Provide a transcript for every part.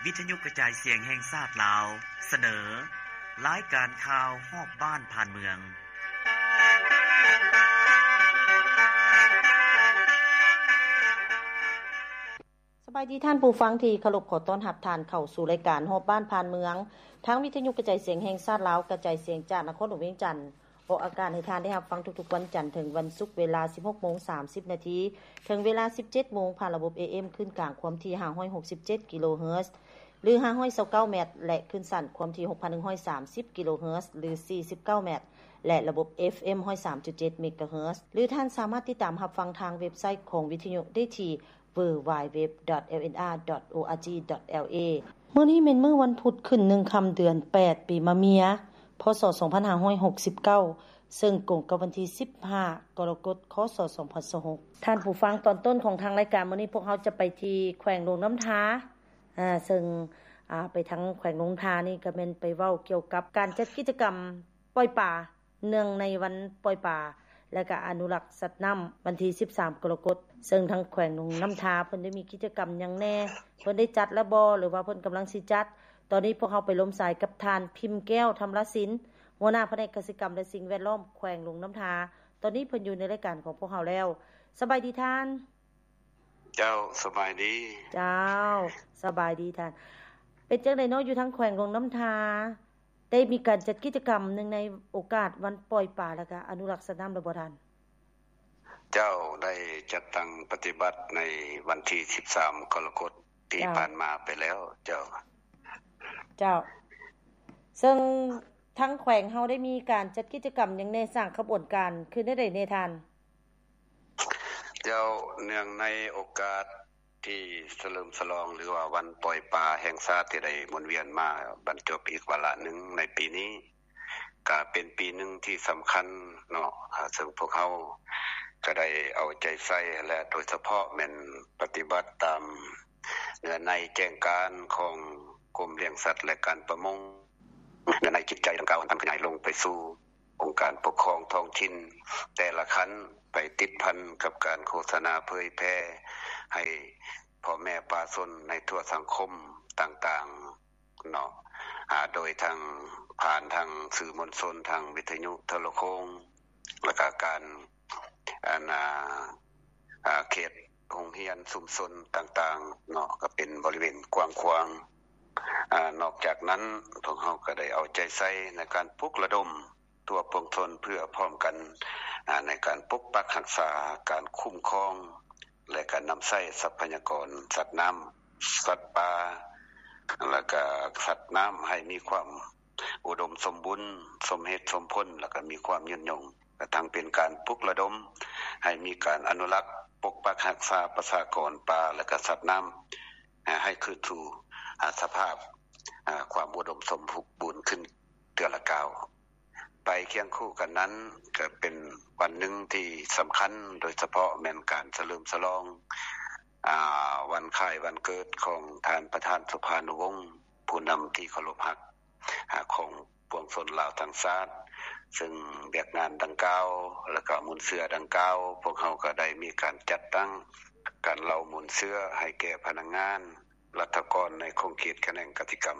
ວິທະຍຸກະຈາຍສຽງແຫ່ງຊາດລາວ ສະເໜີ ລາຍການຂ່າວຮອບບ້ານຜ່ານເມືອງ. ສະບາຍດີທ່ານຜູ້ຟັງທີ່ເຄົາລົບ, ຂໍຕ້ອນຮັບທ່ານເຂົ້າສູ່ລາຍການຮອບບ້ານຜ່ານເມືອງ ທາງວິທະຍຸກະຈາຍສຽງແຫ່ງຊາດລາວ ກະຈາຍສຽງຈາກນະຄອນຫຼວງວຽງຈັນ. ອອກອາກາດໃຫ້ທ່ານໄດ້ຮັບຟັງທຸກໆວັນຈັນເຖິງວັນສຸກ ເວລາສິບຫົກໂມງສາມສິບນາທີ ເຖິງເວລາສິບເຈັດໂມງ ຜ່ານລະບົບ ເອເອັມ ຄື້ນກາງຄວາມຖີ່ຫ້າຮ້ອຍຫົກສິບເຈັດກິໂລເຮີດ ຫຼື ຫ້າຮ້ອຍຊາວເກົ້າແມັດ ແລະ ຄື້ນສັ້ນຄວາມຖີ່ຫົກພັນໜຶ່ງຮ້ອຍສາມສິບກິໂລເຮີດ ຫຼື ສີ່ສິບເກົ້າແມັດ ແລະ ລະບົບ ເອຟເອັມ ຮ້ອຍສາມຈຸດເຈັດເມກາເຮີດ ຫຼື ທ່ານສາມາດຕິດຕາມຮັບຟັງທາງເວັບໄຊຂອງວິທະຍຸໄດ້ທີ່ ดัບເບິນຢູດັບເບິນຢູດັບເບິນຢູດັບເບິນຢູ ດອດ ເອລເອັນອາ ດອດ ໂອອາຈີ ດອດ ແອລເອ ມື້ນີ້ແມ່ນມື້ວັນພຸດຂຶ້ນໜຶ່ງຄ່ຳເດືອນແປດ ປີມະເມຍ ພ.ສ. ສອງພັນຫ້າຮ້ອຍຫົກສິບເກົ້າ ເຊິ່ງກົງກັບວັນທີສິບຫ້າ ກໍລະກົດ ຄ.ສ. ສອງພັນຊາວຫົກ. ທ່ານຜູ້ຟັງ, ຕອນຕົ້ນຂອງທາງລາຍການມື້ນີ້ ພວກເຮົາຈະໄປທີ່ແຂວງຫຼວງນ້ຳທາ ອາ ເຊິ່ງ ອາ ໄປທາງແຂວງຫຼວງນ້ຳທານີ້ ກໍແມ່ນໄປເວົ້າກ່ຽວກັບການຈັດກິດຈະກຳປ່ອຍປາ ເນື່ອງໃນວັນປ່ອຍປາ ແລະ ກະອະນຸລັກສັດນ້ຳ ວັນທີສິບສາມ ກໍລະກົດ ເຊິ່ງທາງແຂວງຫຼວງນ້ຳທາເພິ່ນໄດ້ມີກິດຈະກຳຫຍັງແດ່ ເພິ່ນໄດ້ຈັດແລ້ວບໍ່ ຫຼືວ່າເພິ່ນກຳລັງຊິຈັດ? ຕອນນີ້ພວກເຮົາໄປລົມສາຍກັບທ່ານ ພິມແກ້ວ ທຳລະສິນ ຫົວໜ້າພະແນກກະສິກຳ ແລະ ສິ່ງແວດລ້ອມ ແຂວງຫຼວງນ້ຳທາ. ຕອນນີ້ເພິ່ນຢູ່ໃນລາຍການຂອງພວກເຮົາແລ້ວ. ສະບາຍດີທ່ານ. ເຈົ້າ, ສະບາຍດີ. ເຈົ້າ, ສະບາຍດີທ່ານ. ເປັນຈັ່ງໃດເນາະ ຢູ່ທາງແຂວງຫຼວງນ້ຳທາ ໄດ້ມີການຈັດກິດຈະກຳເນື່ອງໃນໂອກາດວັນປ່ອຍປາ ແລະ ກະອະນຸລັກສັດນ້ຳແລ້ວບໍ່ທ່ານ? ເຈົ້າ, ໄດ້ຈັດຕັ້ງປະຕິບັດໃນວັນທີສິບສາມ ກໍລະກົດທີ່ ເຈົ້າ ຜ່ານມາໄປແລ້ວ. ເຈົ້າ. ເຈົ້າ. ເຊິ່ງທາງແຂວງເຮົາໄດ້ມີການຈັດກິດຈະກຳຫຍັງແດ່ ສ້າງຂະບວນການຄືແນວໃດແດ່ທ່ານ? ເຈົ້າ, ເນື່ອງໃນໂອກາດທີ່ສະເຫຼີມສະຫຼອງ ຫຼືວ່າວັນປ່ອຍປາແຫ່ງຊາດທີ່ໄດ້ໝູນວຽນມາບັນຈົບອີກວາລະໜຶ່ງໃນປີນີ້ ກະເປັນປີໜຶ່ງທີ່ສຳຄັນເນາະ, ອາ ເຊິ່ງພວກເຮົາກະໄດ້ເອົາໃຈໃສ່ ແລະ ໂດຍສະເພາະແມ່ນປະຕິບັດຕາມເນື້ອໃນແຈ້ງການຂອງກົມລ້ຽງສັດ ແລະ ການປະມົງ. ເນື້ອໃນຈິດໃຈດັ່ງກ່າວ ມັນຂະຫຍາຍລົງໄປສູ່ ອົງການປົກຄອງທ້ອງຖິ່ນແຕ່ລະຂັ້ນ ໄປຕິດພັນກັບການໂຄສະນາເຜີຍແຜ່ໃຫ້ພໍ່ແມ່ປະຊາຊົນໃນທົ່ວສັງຄົມຕ່າງໆເນາະ, ອາ ໂດຍທາງ ຜ່ານທາງສື່ມວນຊົນ, ທາງວິທະຍຸໂທລະໂຄ່ງ ແລ້ວກະການ ອັນ ອາ ອາ ເຂດໂຮງຮຽນຊຸມຊົນຕ່າງໆເນາະ, ກະເປັນບໍລິເວນກວ້າງຂວາງ. ອາ ນອກຈາກນັ້ນ ພວກເຮົາກະໄດ້ເອົາໃຈໃສ່ໃນການປຸກລະດົມ ທົ່ວປວງຊົນເພື່ອພ້ອມກັນ ອາ ໃນການປົກປັກຮັກສາ, ການຄຸ້ມຄອງ ແລະ ການນຳໃຊ້ຊັບພະຍາກອນສັດນ້ຳ, ສັດປ່າ ແລະ ກະສັດນ້ຳໃຫ້ມີຄວາມອຸດົມສົມບູນ, ສົມເຫດສົມຜົນ ແລະ ກະມີຄວາມຍືນຍົງ, ກະທັງເປັນການປຸກລະດົມໃຫ້ມີການອະນຸລັກ, ປົກປັກຮັກສາປະຊາກອນປ່າ ແລະ ກະສັດນ້ຳ ໃຫ້ຄືນສູ່ ອາ ສະພາບ ອາ ຄວາມອຸດົມສົມບູນຂຶ້ນເທື່ອລະກ້າວ. ໄປຄຽງຄູ່ກັນນັ້ນ ກະເປັນວັນໜຶ່ງທີ່ສຳຄັນ, ໂດຍສະເພາະແມ່ນການສະເຫຼີມສະຫຼອງ ອາ ວັນຄ້າຍວັນເກີດຂອງທ່ານປະທານສຸພານຸວົງ ຜູ້ນຳທີ່ເຄົາລົບຮັກ ອາ ຂອງປວງຊົນລາວທັງຊາດ. ເຊິ່ງວຽກງານດັ່ງກ່າວ ແລະ ກະມູນເຊື້ອດັ່ງກ່າວ ພວກເຮົາກະໄດ້ມີການຈັດຕັ້ງການເລົ່າມູນເຊື້ອໃຫ້ແກ່ພະນັກງານ ລັດຖະກອນໃນຂົງເຂດຂະແໜງກະສິກຳ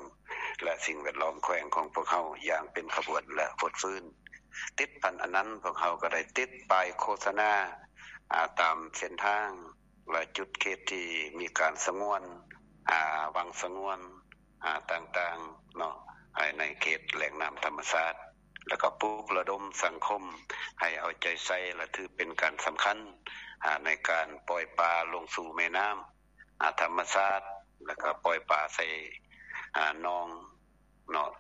ແລະ ສິ່ງແວດລ້ອມແຂວງຂອງພວກເຮົາຢ່າງເປັນຂະບວນ ແລະ ຟົດຟື້ນ. ຕິດພັນອັນນັ້ນ ພວກເຮົາກະໄດ້ຕິດປ້າຍໂຄສະນາ ອາ ຕາມເສັ້ນທາງ ແລະ ຈຸດເຂດທີ່ມີການສະຫງວນ ອາ ວັງສະຫງວນ ອາ ຕ່າງໆເນາະ ໃນເຂດແຫຼ່ງນ້ຳທຳມະຊາດ ແລະ ກະປຸກລະດົມສັງຄົມໃຫ້ເອົາໃຈໃສ່ ແລະ ຖືເປັນການສຳຄັນ ອາ ໃນການປ່ອຍປາລົງສູ່ແມ່ນ້ຳ ອາ ທຳມະຊາດ ແລະ ກະປ່ອຍປາໃສ່ ອາ ໜອງເນາະ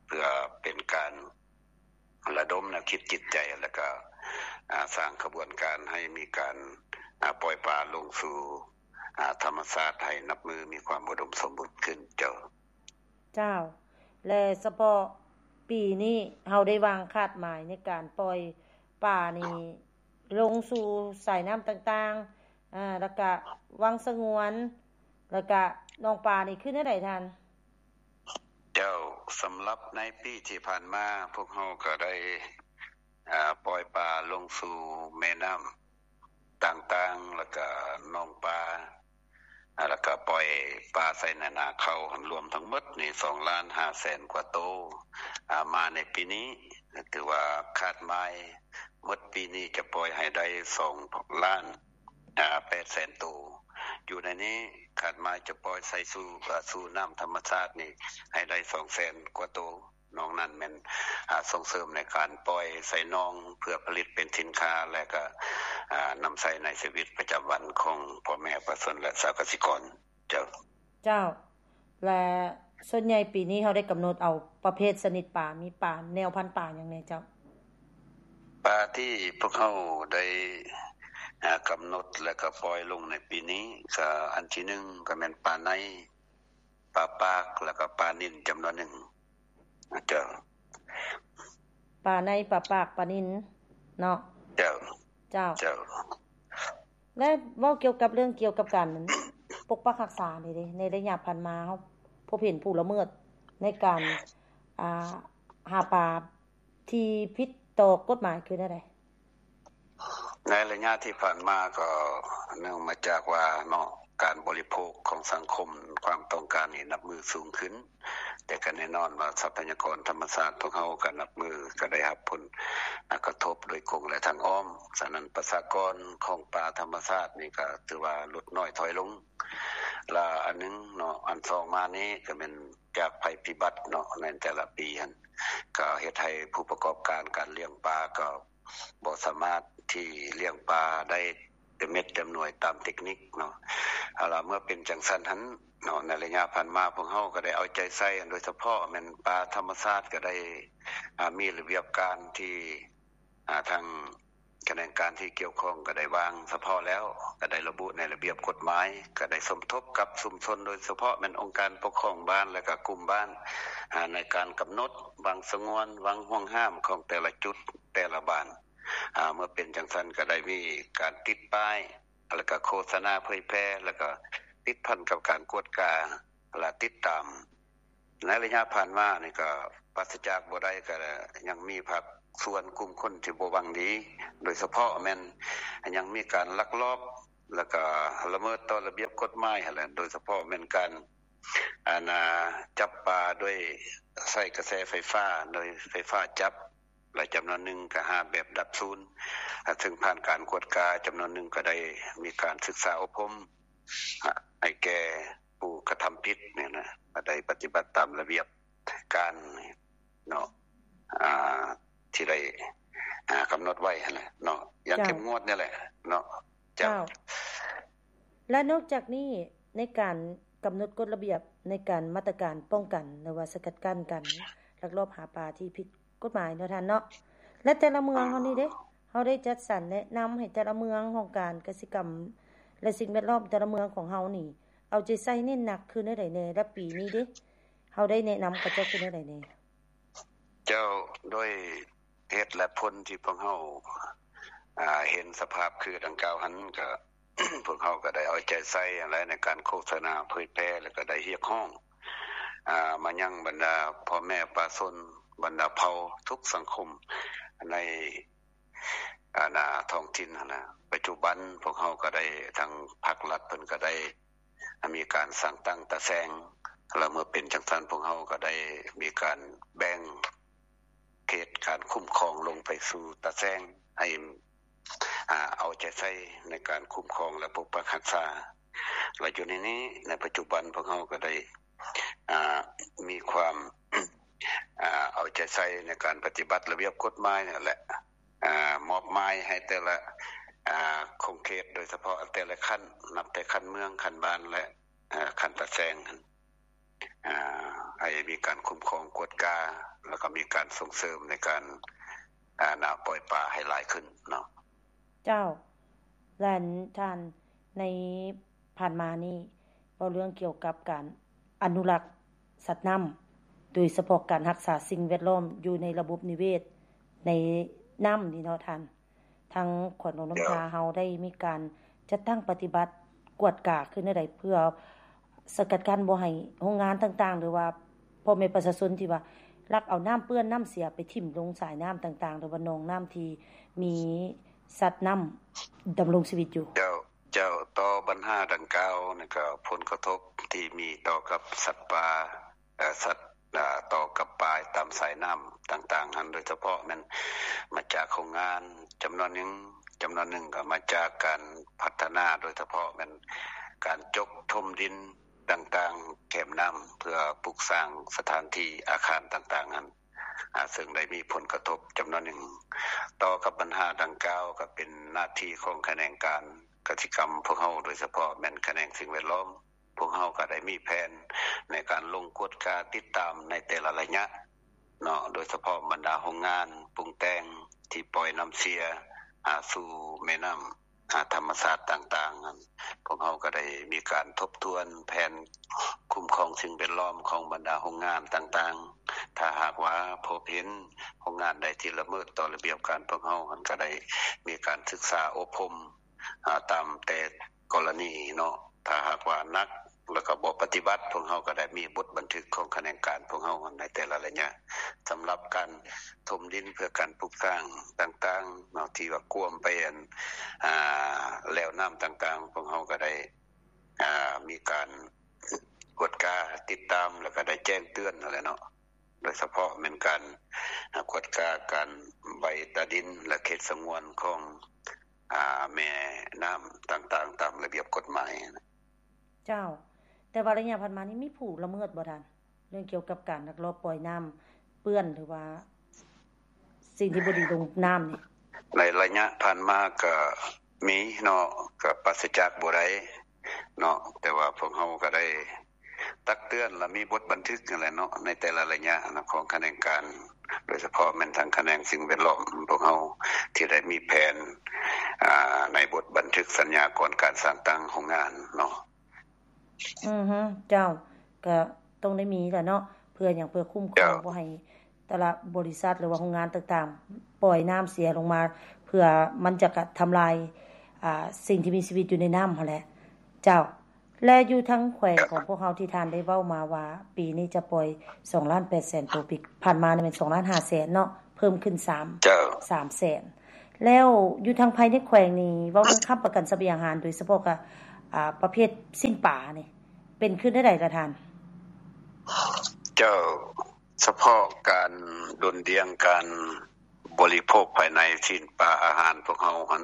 ເພື່ອເປັນການລະດົມແນວຄິດຈິດໃຈ ແລະ ກະ ອາ ສ້າງຂະບວນການໃຫ້ມີການ ອາ ປ່ອຍປາລົງສູ່ ອາ ທຳມະຊາດ ໃຫ້ນັບມື້ມີຄວາມອຸດົມສົມບູນຂຶ້ນ. ເຈົ້າ. ເຈົ້າ ແລະ ສະເພາະປີນີ້ເຮົາໄດ້ວາງຄາດໝາຍໃນການປ່ອຍປານີ້ລົງສູ່ສາຍນ້ຳຕ່າງໆ ອາ ແລ້ວກະວັງສະຫງວນ ແລ້ວກະໜອງປານີ້ຄືແນວໃດທ່ານ? ເຈົ້າ, ສຳລັບໃນປີທີ່ຜ່ານມາ ພວກເຮົາກະໄດ້ ອາ ປ່ອຍປາລົງສູ່ແມ່ນ້ຳຕ່າງໆ ແລ້ວກະໜອງປາ ແລ້ວກໍປ່ອຍປາໃສ່ໃນນາເຂົ້າ ລວມທັງໝົດນີ້ ສອງລ້ານຫ້າແສນກວ່າໂຕ. ອາ ມາໃນປີນີ້ ຖືວ່າຄາດໝາຍໝົດປີນີ້ຈະປ່ອຍໃຫ້ໄດ້ ສອງລ້ານ ອາ ແປດແສນໂຕ. ຢູ່ໃນນີ້ຄາດໝາຍຈະປ່ອຍໃສ່ສູ່ ອາ ສູ່ນ້ຳທຳມະຊາດນີ້ໃຫ້ໄດ້ ສອງແສນກວ່າໂຕ. ນອກນັ້ນແມ່ນ ອາ ສົ່ງເສີມໃນການປ່ອຍໃສ່ໜອງ ເພື່ອຜະລິດເປັນສິນຄ້າ ແລະ ກໍ ອາ ນຳໃຊ້ໃນຊີວິດປະຈຳວັນຂອງພໍ່ແມ່ປະຊາຊົນ ແລະ ຊາວກະສິກອນ. ເຈົ້າ. ເຈົ້າ. ແລະ ສ່ວນໃຫຍ່ປີນີ້ເຮົາໄດ້ກຳນົດເອົາປະເພດຊະນິດປາ ມີປາແນວພັນປາຫຍັງແດ່ເຈົ້າ? ປາທີ່ພວກເຮົາໄດ້ ອາ ກຳນົດ ແລະ ກໍປ່ອຍລົງໃນປີນີ້ ກໍອັນທີໜຶ່ງກໍແມ່ນປາໄນ, ປາປາກ ແລ້ວກໍປານິນຈຳນວນໜຶ່ງ. ເຈົ້າ. ປາໄນ, ປາປາກ, ປານິນເນາະ. ເຈົ້າ. ເຈົ້າ. ເຈົ້າ. ແລະ ເວົ້າກ່ຽວກັບເລື່ອງກ່ຽວກັບການປົກປັກຮັກສານີ້ເດ ໃນໄລຍະຜ່ານມາເຮົາພົບເຫັນຜູ້ລະເມີດໃນການ ອ່າ ຫາປາທີ່ຜິດຕໍ່ກົດໝາຍຄືແນວໃດ? ໃນໄລຍະທີ່ຜ່ານມາກໍເນື່ອງມາຈາກວ່າເນາະ ການບໍລິໂພກຂອງສັງຄົມ ຄວາມຕ້ອງການນີ້ນັບມື້ສູງຂຶ້ນ, ແຕ່ກໍແນ່ນອນວ່າຊັບພະຍາກອນທຳມະຊາດພວກເຮົາກໍນັບມື້ກໍໄດ້ຮັບຜົນ ອາ ກະທົບໂດຍກົງ ແລະ ທາງອ້ອມ. ສະນັ້ນປະຊາກອນຂອງປາທຳມະຊາດນີ້ກໍຖືວ່າຫຼຸດນ້ອຍຖອຍລົງ. ລະອັນໜຶ່ງເນາະ ອັນສອງມານີ້ກໍແມ່ນຈາກໄພພິບັດເນາະ ໃນແຕ່ລະປີຫັ້ນ ກໍເຮັດໃຫ້ຜູ້ປະກອບການການລ້ຽງປາກໍບໍ່ສາມາດທີ່ລ້ຽງປາໄດ້ເຕັມເມັດເຕັມໜ່ວຍຕາມເຕັກນິກເນາະ. ເອົາລະ ເມື່ອເປັນຈັ່ງຊັ້ນຫັ້ນເນາະ ໃນໄລຍະຜ່ານມາພວກເຮົາກໍໄດ້ເອົາໃຈໃສ່ ໂດຍສະເພາະແມ່ນປາທຳມະຊາດກໍໄດ້ ອາ ມີລະບຽບການທີ່ ອາ ທາງຂະແໜງການທີ່ກ່ຽວຂ້ອງກໍໄດ້ວາງສະເພາະແລ້ວ, ກໍໄດ້ລະບຸໃນລະບຽບກົດໝາຍ, ກໍໄດ້ສົມທົບກັບຊຸມຊົນ ໂດຍສະເພາະແມ່ນອົງການປົກຄອງບ້ານ ແລະ ກໍກຸ່ມບ້ານ ອາ ໃນການກຳນົດວັງສະຫງວນ, ວັງຫ່ວງຫ້າມຂອງແຕ່ລະຈຸດ, ແຕ່ລະບ້ານ. ອາ ເມື່ອເປັນຈັ່ງຊັ້ນ ກໍໄດ້ມີການຕິດປ້າຍ ແລ້ວກໍໂຄສະນາເຜີຍແຜ່ ແລ້ວກໍຕິດພັນກັບການກວດກາ ແລະ ຕິດຕາມ. ໃນໄລຍະຜ່ານມານີ້ກໍປາສະຈາກບໍ່ໄດ້ ກໍຍັງມີພາກສ່ວນກຸ່ມຄົນທີ່ບໍ່ຫວັງດີ, ໂດຍສະເພາະແມ່ນຍັງມີການລັກລອບ ແລ້ວກໍລະເມີດຕໍ່ລະບຽບກົດໝາຍຫັ້ນແຫຼະ, ໂດຍສະເພາະແມ່ນການ ອັນ ອາ ຈັບປາໂດຍໃຊ້ກະແສໄຟຟ້າ, ໂດຍໄຟຟ້າຈັບ ແລະ ຈຳນວນໜຶ່ງກໍຫາແບບດັບສູນ, ອາ ເຊິ່ງຜ່ານການກວດກາ, ຈຳນວນໜຶ່ງກໍໄດ້ມີການສຶກສາອົບຮົມ ອາ ໃຫ້ແກ່ຜູ້ກະທຳຜິດນີ້ນະ, ກໍໄດ້ປະຕິບັດຕາມລະບຽບການເນາະ ອາ ທີ່ໄດ້ ອາ ກຳນົດໄວ້ຫັ້ນແຫຼະເນາະ, ຢ່າງ ເຈົ້າ ເຂັ້ມງວດນີ້ແຫຼະເນາະ. ເຈົ້າ. ເຈົ້າ. ແລະ ນອກຈາກນີ້ ໃນການກຳນົດກົດລະບຽບ ໃນການມາດຕະການປ້ອງກັນ ຫຼືວ່າສະກັດກັ້ນການລັກລອບຫາປາທີ່ຜິດກົດໝາຍເນາະທ່ານເນາະ, ແລະ ແຕ່ລະເມືອງເຮົານີ້ເດ້ ເຮົາໄດ້ຈັດສັນແນະນຳໃຫ້ແຕ່ລະເມືອງ ຫ້ອງການກະສິກຳ ແລະ ສິ່ງແວດລ້ອມແຕ່ລະເມືອງຂອງເຮົານີ້ ເອົາໃຈໃສ່ເນັ້ນໜັກຄືແນວໃດແດ່ ແລະ ປີນີ້ເດ້ ເຮົາໄດ້ແນະນຳເຂົາເຈົ້າຄືແນວໃດແດ່? ເຈົ້າ. ໂດຍເຫດແລະຜົນທີ່ພວກເຮົາ ອາ ເຫັນສະພາບຄືດັ່ງກ່າວຫັ້ນ ກະ ພວກເຮົາກໍໄດ້ເອົາໃຈໃສ່ຫັ້ນແຫຼະ ໃນການໂຄສະນາເຜີຍແຜ່ ແລ້ວກໍໄດ້ຮຽກຮ້ອງ ອາ ມາຍັງບັນດາພໍ່ແມ່ປະຊາຊົນ ບັນດາເຜົ່າທຸກສັງຄົມໃນ ອາ ນາ ທ້ອງຖິ່ນຫັ້ນນະ. ປັດຈຸບັນພວກເຮົາກໍໄດ້ ທາງພາກລັດເພິ່ນກໍໄດ້ ມີການສ້າງຕັ້ງຕາແສງ ແລ້ວເມື່ອເປັນຈັ່ງຊັ້ນ ພວກເຮົາກໍໄດ້ມີການແບ່ງເຂດການຄຸ້ມຄອງລົງໄປສູ່ຕາແສງ ໃຫ້ ອາ ເອົາໃຈໃສ່ໃນການຄຸ້ມຄອງ ແລະ ປົກປັກຮັກສາ. ແລະ ຢູ່ໃນນີ້ ໃນປັດຈຸບັນພວກເຮົາກໍໄດ້ ອາ ມີຄວາມ ອາ ເອົາໃຈໃສ່ໃນການປະຕິບັດລະບຽບກົດໝາຍນັ້ນແຫຼະ. ອາ ມອບໝາຍໃຫ້ແຕ່ລະ ອາ ຂົງເຂດ ໂດຍສະເພາະແຕ່ລະຂັ້ນ ນັບແຕ່ຂັ້ນເມືອງ, ຂັ້ນບ້ານ ແລະ ອາ ຂັ້ນຕາແສງຫັ້ນ ອາ ໃຫ້ມີການຄຸ້ມຄອງກວດກາ ແລ້ວກໍມີການສົ່ງເສີມໃນການ ອາ ນາ ປ່ອຍປາໃຫ້ຫຼາຍຂຶ້ນເນາະ. ເຈົ້າ. ແລະ ທ່ານ ໃນຜ່ານມານີ້ ເວົ້າເລື່ອງກ່ຽວກັບການອະນຸລັກສັດນ້ຳ ໂດຍສະເພາະການຮັກສາສິ່ງແວດລ້ອມຢູ່ໃນລະບົບນິເວດໃນນ້ຳນີ້ເນາະທ່ານ, ທາງແຂວງຫຼວງນ້ຳທາເຮົາໄດ້ມີການຈັດຕັ້ງປະຕິບັດກວດກາຄືແນວໃດ ເພື່ອສະກັດກັ້ນບໍ່ໃຫ້ໂຮງງານຕ່າງໆ ຫຼືວ່າພໍ່ແມ່ປະຊາຊົນທີ່ວ່າລັກເອົານ້ຳເປື້ອນນ້ຳເສຍໄປຖິ້ມລົງສາຍນ້ຳຕ່າງໆ ຫຼືວ່າໜອງນ້ຳທີ່ມີ ສັດນ້ຳດຳລົງຊີວິດຢູ່. ເຈົ້າ. ເຈົ້າ, ຕໍ່ບັນຫາດັ່ງກ່າວນີ້ກໍ ຜົນກະທົບທີ່ມີຕໍ່ກັບສັດປ່າ ເອີ ສັດ ເອີ ຕໍ່ກັບປາຕາມສາຍນ້ຳຕ່າງໆຫັ້ນ ໂດຍສະເພາະແມ່ນມາຈາກໂຮງງານຈຳນວນໜຶ່ງ, ຈຳນວນໜຶ່ງກໍມາຈາກການພັດທະນາ ໂດຍສະເພາະແມ່ນການຈົກຖົມດິນຕ່າງໆແຄມນ້ຳ ເພື່ອປຸກສ້າງສະຖານທີ່ອາຄານຕ່າງໆຫັ້ນ ອາ ເຊິ່ງໄດ້ມີຜົນກະທົບຈຳນວນໜຶ່ງ. ຕໍ່ກັບບັນຫາດັ່ງກ່າວ ກໍເປັນໜ້າທີ່ຂອງຂະແໜງການກະສິກຳພວກເຮົາ ໂດຍສະເພາະແມ່ນຂະແໜງສິ່ງແວດລ້ອມ. ພວກເຮົາກໍໄດ້ມີແຜນໃນການລົງກວດກາຕິດຕາມໃນແຕ່ລະໄລຍະເນາະ, ໂດຍສະເພາະບັນດາໂຮງງານປຸງແຕ່ງທີ່ປ່ອຍນ້ຳເສຍ ອາ ສູ່ແມ່ນ້ຳ ອາ ທຳມະຊາດຕ່າງໆນັ້ນ, ພວກເຮົາກໍໄດ້ມີການທົບທວນແຜນຄຸ້ມຄອງສິ່ງແວດລ້ອມຂອງບັນດາໂຮງງານຕ່າງໆ. ຖ້າຫາກວ່າພົບເຫັນໂຮງງານໃດທີ່ລະເມີດຕໍ່ລະບຽບການພວກເຮົາຫັ້ນ ກໍໄດ້ມີການສຶກສາອົບຮົມ ອາ ຕາມແຕ່ກໍລະນີເນາະ. ຖ້າຫາກວ່າໜັກ ແລ້ວກໍບໍ່ປະຕິບັດ, ພວກເຮົາກໍໄດ້ມີບົດບັນທຶກຂອງຂະແໜງການພວກເຮົາໃນແຕ່ລະໄລຍະ. ສຳລັບການຖົມດິນເພື່ອການປຸກສ້າງຕ່າງໆເນາະ ທີ່ວ່າກວມໄປອັນ ອາ ແລວນ້ຳຕ່າງໆ, ພວກເຮົາກໍໄດ້ ອາ ມີການກວດກາຕິດຕາມ ແລ້ວກໍໄດ້ແຈ້ງເຕືອນຫັ້ນແຫຼະເນາະ, ໂດຍສະເພາະແມ່ນການ ອາ ກວດກາການໃບຕາດິນ ແລະ ເຂດສະຫງວນຂອງ ອາ ແມ່ນ້ຳຕ່າງໆ ຕາມລະບຽບກົດໝາຍ. ເຈົ້າ, ແຕ່ວ່າໄລຍະຜ່ານມານີ້ມີຜູ້ລະເມີດບໍ່ທ່ານ ເລື່ອງກ່ຽວກັບການລັກລອບປ່ອຍນ້ຳເປື້ອນ ຫຼືວ່າສິ່ງທີ່ບໍ່ດີລົງນ້ຳນີ້? ໃນໄລຍະຜ່ານມາກໍມີເນາະ, ກໍປາສະຈາກບໍ່ໄດ້ເນາະ, ແຕ່ວ່າພວກເຮົາກໍໄດ້ຕັກເຕືອນ ແລະ ມີບົດບັນທຶກຫັ້ນແຫຼະເນາະ ໃນແຕ່ລະໄລຍະນະ ຂອງຂະແໜງການ ໂດຍສະເພາະແມ່ນທາງຂະແໜງສິ່ງແວດລ້ອມຂອງເຮົາ ທີ່ໄດ້ມີແຜນ ອາ ໃນບົດບັນທຶກສັນຍາກ່ອນການສ້າງຕັ້ງໂຮງງານເນາະ. ອືຮຶ ເຈົ້າ, ກະຕ້ອງໄດ້ມີແຫຼະເນາະ, ເພື່ອຫຍັງ? ເພື່ອຄຸ້ມຄອງ ເຈົ້າ ບໍ່ໃຫ້ແຕ່ລະບໍລິສັດ ຫຼືວ່າໂຮງງານຕ່າງໆ ປ່ອຍນ້ຳເສຍລົງມາ ເພື່ອມັນຈະກະທຳລາຍ ອາ ສິ່ງທີ່ມີຊີວິດຢູ່ໃນນ້ຳຫັ້ນແຫຼະ. ເຈົ້າ, ແລະ ຢູ່ທາງແຂວງຂອງພວກເຮົາທີ່ທ່ານໄດ້ເວົ້າມາວ່າ ປີນີ້ຈະປ່ອຍສອງລ້ານແປດແສນໂຕ, ປີຜ່ານມານີ້ແມ່ນສອງລ້ານຫ້າແສນເນາະ, ເພີ່ມຂຶ້ນສາມ ເຈົ້າ ສາມແສນ. ແລ້ວຢູ່ທາງພາຍໃນແຂວງນີ້ ເວົ້າເລື່ອງຄ້ຳປະກັນສະບຽງອາຫານ ໂດຍສະເພາະກະ ອາ ປະເພດຊີ້ນປານີ້ ເປັນຂຶ້ນແນວໃດລະທ່ານ? ເຈົ້າ, ສະເພາະການດຸ່ນດ່ຽງການ ບໍລິໂພກພາຍໃນຊີ້ນປາອາຫານພວກເຮົາຫັ້ນ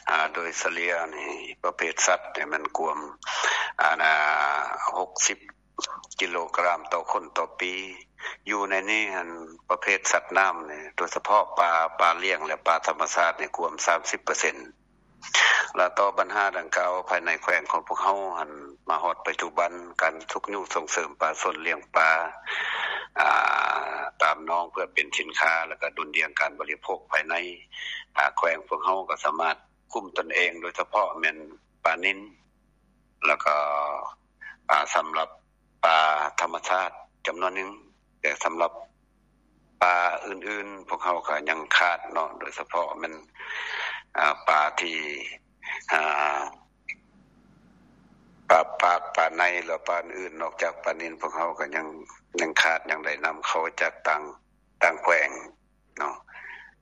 ອາ ໂດຍສະເລ່ຍນີ້ ປະເພດສັດນີ້ມັນກວມ ອາ ຫົກສິບກິໂລກຣາມຕໍ່ຄົນຕໍ່ປີ. ຢູ່ໃນນີ້ຫັ້ນ ປະເພດສັດນ້ຳນີ້ ໂດຍສະເພາະປາ ປາລ້ຽງ ແລະ ປາທຳມະຊາດນີ້ກວມສາມສິບເປີເຊັນ. ແລະ ຕໍ່ບັນຫາດັ່ງກ່າວ ພາຍໃນແຂວງຂອງພວກເຮົາຫັ້ນ ມາຮອດປັດຈຸບັນ ການຊຸກຍູ້ສົ່ງເສີມປາຊົນລ້ຽງປາ ອາ ຕາມໜອງເພື່ອເປັນສິນຄ້າ ແລ້ວກໍດຸ່ນດ່ຽງການບໍລິໂພກພາຍໃນ ອາ ແຂວງພວກເຮົາກໍສາມາດຄຸມຕົນເອງ ໂດຍສະເພາະແມ່ນປານິນ ແລ້ວກໍ ອາ ສຳລັບ ປາທຳມະຊາດຈຳນວນໜຶ່ງ, ແຕ່ສຳລັບປາອື່ນໆ ພວກເຮົາກໍຍັງຂາດເນາະ, ໂດຍສະເພາະແມ່ນ ອາ ປາທີ່ ອາ ປາປາກ ປາໄນ ແລະ ປາອື່ນໆ ນອກຈາກປານິນ ພວກເຮົາກໍຍັງ ຍັງຂາດ ຍັງໄດ້ນຳເຂົ້າຈາກຕ່າງ ຕ່າງແຂວງ ເນາ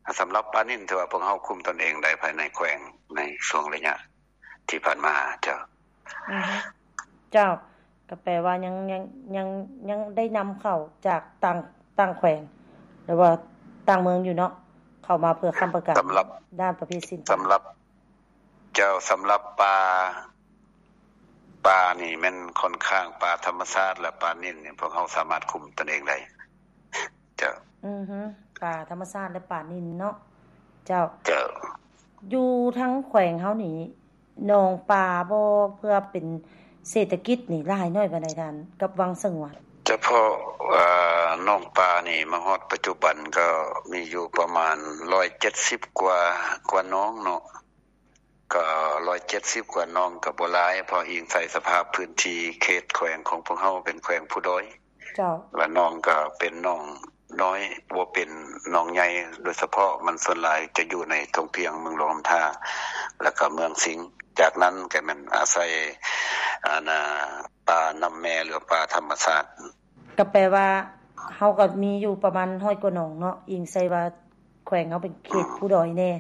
ະ. ສຳລັບປານິນ ຖືວ່າພວກເຮົາຄຸມຕົນເອງໄດ້ພາຍໃນແຂວງໃນຊ່ວງໄລຍະທີ່ຜ່ານມາ. ເຈົ້າ. ອືຮຶ ເຈົ້າ, ກໍແປວ່າຍັງ ຍັງ ຍັງ ຍັງໄດ້ນຳເຂົ້າຈາກຕ່າງ ຕ່າງແຂວງ ຫຼືວ່າຕ່າງເມືອງຢູ່ເນາະ, ເຂົ້າມາເພື່ອຄ້ຳປະກັນ ສຳລັບ ດ້ານປະເພດສິນ ສຳລັບ ເຈົ້າ, ສຳລັບປາ ປານີ້ແມ່ນຂ້ອນຂ້າງປາທຳມະຊາດ ແລະ ປານິນນີ້ ພວກເຮົາສາມາດຄຸມຕົນເອງໄດ້. ເຈົ້າ. ອືຮຶ ປາທຳມະຊາດ ແລະ ປານິນເນາະ. ເຈົ້າ. ເຈົ້າ. ຢູ່ທາງແຂວງເຮົານີ້ ໜອງປາບໍ່ ເພື່ອເປັນເສດຖະກິດນີ້ ຫຼາຍໜ້ອຍປານໃດທ່ານ ກັບວັງສະຫງວນ? ສະເພາະ ເອີ ໜອງປານີ້ ມາຮອດປັດຈຸບັນກໍມີຢູ່ປະມານຮ້ອຍເຈັດສິບກວ່າ ກວ່າໜອງເນາະ. ກໍຮ້ອຍເຈັດສິບກວ່າໜອງກໍບໍ່ຫຼາຍ, ເພາະອີງໃສ່ສະພາບພື້ນທີ່ເຂດແຂວງຂອງພວກເຮົາເປັນແຂວງພູດອຍ. ເຈົ້າ. ແລະ ໜອງກໍເປັນໜອງນ້ອຍ, ບໍ່ເປັນໜອງໃຫຍ່, ໂດຍສະເພາະມັນສ່ວນຫຼາຍຈະຢູ່ໃນທົ່ງພຽງເມືອງຫຼວງນ້ຳທາ ແລ້ວກໍເມືອງສິງ. ຈາກນັ້ນກໍແມ່ນອາໄສ ອັນນ່າ ປານ້ຳແມ່ ຫຼື ປາທຳມະຊາດ. ກໍແປວ່າເຮົາກໍມີຢູ່ປະມານຮ້ອຍກວ່າໜອງເນາະ, ອີງໃສ່ວ່າແຂວງເຮົາເປັນເຂດ ອືມ ພູດອຍແດ່.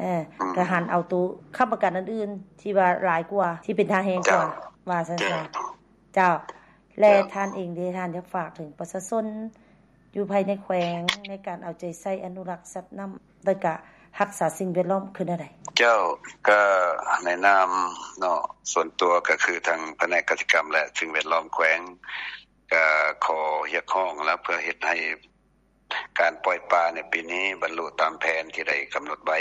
ເອີ ອືມ ກໍຫັນເອົາໂຕຄ້ຳປະກັນອັນອື່ນທີ່ວ່າຫຼາຍກວ່າ ທີ່ເປັນທ່າແຮງກວ່າ ເຈົ້າ ວ່າຊັ້ນຊະ. ເຈົ້າ ເຈົ້າ ແລະ ເຈົ້າ ທ່ານເອງເດ ທ່ານຢາກຝາກເຖິງປະຊາຊົນຢູ່ພາຍໃນແຂວງ ໃນການເອົາໃຈໃສ່ອະນຸລັກສັດນ້ຳ ແລະ ກະຮັກສາສິ່ງແວດລ້ອມຄືແນວໃດ? ເຈົ້າ ກະໃນນາມເນາະ ສ່ວນຕົວກະຄືທາງພະແນກກະສິກຳ ແລະ ສິ່ງແວດລ້ອມແຂວງ ກະຂໍຮຽກຮ້ອງແລ້ວ ເພື່ອເຮັດໃຫ້ ການປ່ອຍປາໃນປີນີ້ບັນລຸຕາມແຜນທີ່ໄດ້ກຳນົດໄວ້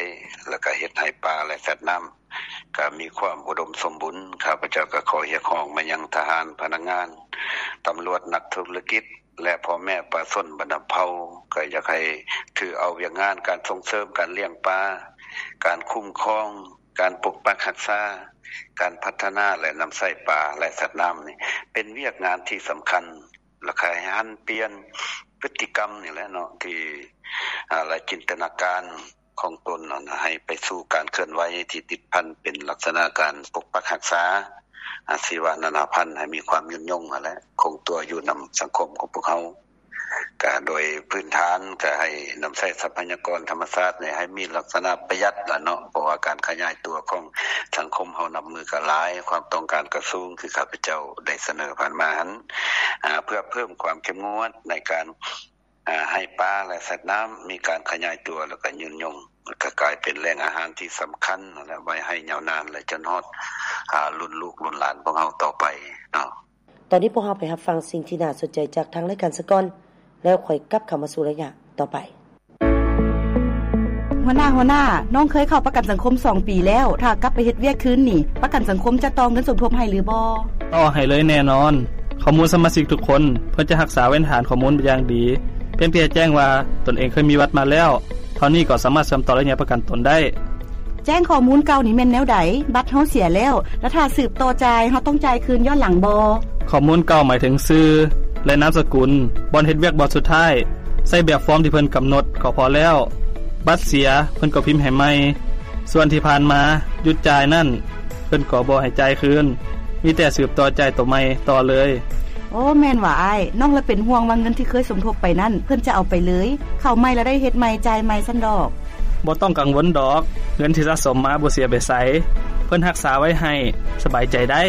ແລ້ວກະເຮັດໃຫ້ປາ ແລະ ສັດນ້ຳກະມີຄວາມອຸດົມສົມບູນ. ຂ້າພະເຈົ້າກະຂໍຮຽກຮ້ອງມາຍັງທະຫານ, ພະນັກງານ, ຕຳຫຼວດ, ນັກທຸລະກິດ ແລະ ພໍ່ແມ່ປະຊາຊົນບັນດາເຜົ່າ ກະຢາກໃຫ້ຖືເອົາວຽກງານການສົ່ງເສີມການລ້ຽງປາ, ການຄຸ້ມຄອງ, ການປົກປັກຮັກສາ, ການພັດທະນາ ແລະ ນຳໃຊ້ປາ ແລະ ສັດນ້ຳນີ້ ເປັນວຽກງານທີ່ສຳຄັນ. ແລ້ວກະໃຫ້ຫັນປ່ຽນພຶດຕິກຳນີ້ແຫຼະເນາະ ທີ່ ອາ ແລະ ຈິນຕະນາການຂອງຕົນນັ້ນ ໃຫ້ໄປສູ່ການເຄື່ອນໄຫວທີ່ຕິດພັນເປັນລັກສະນະການປົກປັກຮັກສາ ອາ ຊີວະນານາພັນ ໃຫ້ມີຄວາມຍືນຍົງຫັ້ນແຫຼະ ຄົງຕົວຢູ່ນຳສັງຄົມຂອງພວກເຮົາ. ກະໂດຍພື້ນຖານກະໃຫ້ນຳໃຊ້ຊັບພະຍາກອນທຳມະຊາດນີ້ໃຫ້ມີລັກສະນະປະຢັດລະເນາະ ເພາະວ່າການຂະຫຍາຍຕົວຂອງສັງຄົມເຮົານັບມື້ກະຫຼາຍ ຄວາມຕ້ອງການກະສູງ ຄືຂ້າພະເຈົ້າໄດ້ສະເໜີຜ່ານມາຫັ້ນ ອາ ເພື່ອເພີ່ມຄວາມເຂັ້ມງວດໃນການ ອາ ໃຫ້ປາ ແລະ ສັດນ້ຳມີການຂະຫຍາຍຕົວ ແລ້ວກະຍືນຍົງ ແລ້ວກະກາຍເປັນແຫຼ່ງອາຫານທີ່ສຳຄັນ ແລະ ໄວ້ໃຫ້ຍາວນານ ແລະ ຈົນຮອດ ອາ ລຸ້ນລູກລຸ້ນຫຼານພວກເຮົາຕໍ່ໄປເນາະ. ຕອນນີ້ພວກເຮົາໄປຮັບຟັງສິ່ງທີ່ໜ້າສົນໃຈຈາກທາງລາຍການສາກ່ອນ ແລ້ວຄ່ອຍກັບເຂົ້າມາສູ່ໄລຍະຕໍ່ໄປ. ຫົວໜ້າ, ຫົວໜ້າ, ນ້ອງເຄີຍເຂົ້າປະກັນສັງຄົມສອງປີແລ້ວ, ຖ້າກັບໄປເຮັດວຽກຄືນນີ້ ປະກັນສັງຄົມຈະຕໍ່ເງິນສົມທົບໃຫ້ຫຼືບໍ່? ຕໍ່ໃຫ້ເລີຍແນ່ນອນ. ຂໍ້ມູນສະມາຊິກທຸກຄົນ ເພິ່ນຈະຮັກສາເວນຖານຂໍ້ມູນຢ່າງດີ. ພຽງແຕ່ແຈ້ງວ່າຕົນເອງເຄີຍມີບັດມາແລ້ວ ເທົ່ານີ້ກໍສາມາດເຊື່ອມຕໍ່ໄລຍະປະກັນຕົນໄດ້. ແຈ້ງຂໍ້ມູນເກົ່ານີ້ແມ່ນແນວໃດ? ບັດເຮົາເສຍແລ້ວ ແລະ ຖ້າສືບຕໍ່ຈ່າຍ ເຮົາຕ້ອງຈ່າຍຄືນຍ້ອນຫຼັງບໍ່? ຂໍ້ມູນເກົ່າໝາຍເຖິງຊື່ ແລະ ນາມສະກຸນ, ບ່ອນເຮັດວຽກບ່ອນສຸດທ້າຍ. ໃຊ້ແບບຟອມທີ່ເພິ່ນກຳນົດກໍພໍແລ້ວ. ບັດເສຍ ເພິ່ນກໍພິມໃຫ້ໃໝ່. ສ່ວນທີ່ຜ່ານມາຢຸດຈ່າຍນັ້ນ ເພິ່ນກໍບໍ່ໃຫ້ຈ່າຍຄືນ, ມີແຕ່ສືບຕໍ່ຈ່າຍໂຕໃໝ່ຕໍ່ເລີຍ. ໂອ້ ແມ່ນຫວາອ້າຍ, ນ້ອງລະເປັນຫ່ວງວ່າເງິນທີ່ເຄີຍສົມທົບໄປນັ້ນ ເພິ່ນຈະເອົາໄປເລີຍ, ເຂົ້າໃໝ່ລະໄດ້ເຮັດໃໝ່, ຈ່າຍໃໝ່ຊັ້ນດອກ. ບໍ່ຕ້ອງກັງວົນດອກ, ເງິນທີ່ສະສົມມາບໍ່ເສຍໄປໃສ, ເພິ່ນຮັກສາໄວ້ໃຫ້, ສະບາຍໃຈໄດ້.